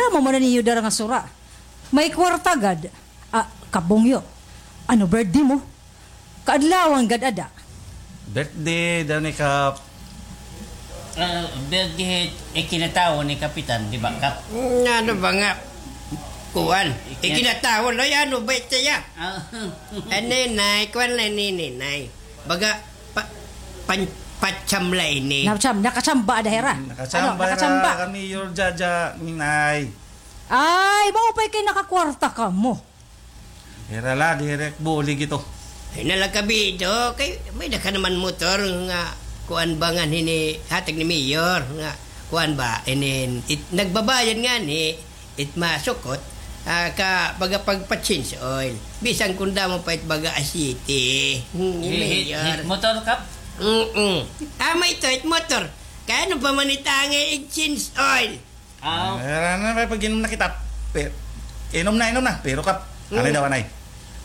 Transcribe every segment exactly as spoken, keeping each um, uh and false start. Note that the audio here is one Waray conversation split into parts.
Amo man niyo dara nga sura. May kwarta gad. Ah, Kap Bongyo. Ano birthday mo? Kaadlawan gad ada. Birthday daw ni Kap. Ah, birthday ikinatawo ni Kapitan, di ba, Kap? Ano ba nga? Kuan. Ikinatawo, ay, ano ba ito ya? Ah. Ninay, kuan la ini, Ninay. Baga, pa, pan, patsamla ini. Nakacham-, nakachamba ada hira. Nakachamba hira kami, Mayor Jaja, Ninay. Ay, maupay kay nakakwarta kamo. Hira la, diri bulig ito. Ay, nalakabido, kay may-ada ka naman motor nga kuan ba nga hini hatag ni Mayor nga kuan ba, inin, it, nagbabayad ngani, it masukot, ah, ka baga pagpa-change oil. Bisan kun damo pa it baga aseite. Hmm, Mayor. Hit motor, Kap? Mm-mm. Tama ito, hit motor. Kay ano pa man it angay ig-change oil? Aw. Ano na, pag-inom na kita. Pe-, inom na, inom na. Pero Kap, ano daw, anay?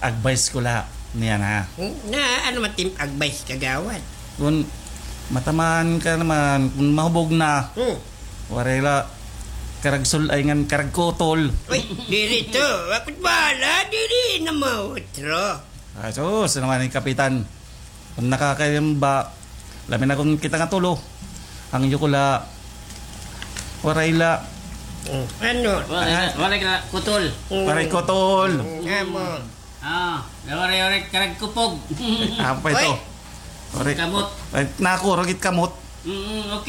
Advice ko la niyan, ha? Hmm, na, ano man tim advice, kagawad? Kun matamaan ka naman, kun mahubog na, waray la karag sul-, ay ngan karag kutol. Uy, diri to. Ako't bahala, diri na mautro. Ah, sus, naman ni Kapitan. Kun nakakainom ba, labi na kun kita nga tulo. An iyo ko la, waray la. Ano? Waray la, waray la kutol. Waray kutol. Amo. Ah, waray, waray karag kupog. Apa ito? Waray. Kamot. Ay, naku, rugit kamot. Mm, okay